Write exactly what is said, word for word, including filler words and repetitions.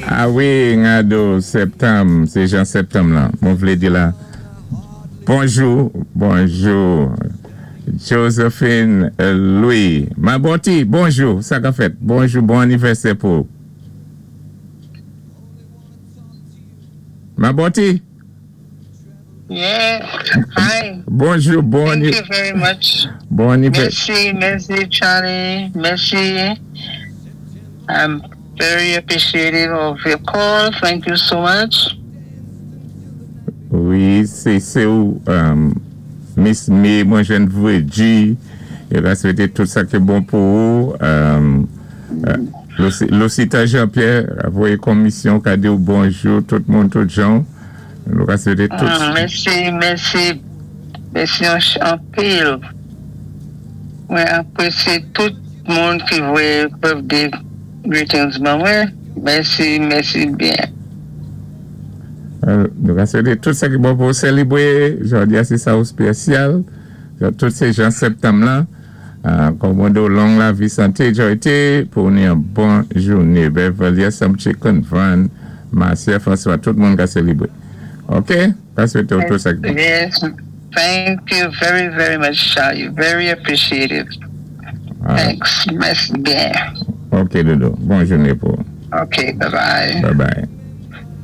A wi, ngado septanm, sé jan septanm la. Mwen vlé di la. Bonjou, bonjou. Josephine Louis. Maboti, bonjou, sa ka fèt. Bonjou, bon anivèsè pou. Maboti? Yeah, hi. Bonjou, bon Thank you very much. Bon anivèsè. Mèsi, mèsi Charlie, mèsi. I'm very appreciative of your call. Thank you so much. Wi, sé sé ou um, Miss May, mwen jwenn Vredji, yo ka swété tout sa ki bon pou ou. Um, uh, Lucita Jean-Pierre, a voyé komisyon ka di ou bonjou, tout moun, tout jan. Nou ka swété tout. Mm, mèsi, mèsi. Mèsi an, anpil. Mwen apresyé tout moun ki voyé birthday greetings ban mwen. Mèsi, mèsi byen. Euh, nou ka swété tout sa ki bon pou sélébwé. Jòdi a sé sa ou spésyal. Tout sé jan septanm la. Euh, kòmandé ou long lavi santé, joyté, pou ni yon bon jouné. Beverly, Chicken Van, Marcia François, tout moun ka sélébwé. OK? Ka swété ou tout sa ki bon. Yes, thank you very, very much, Charlie. Very appreciative. Ah, Thanks. Mèsi byen. OK, Dodo. Bon jouné pou. OK, bye-bye. Bye bye.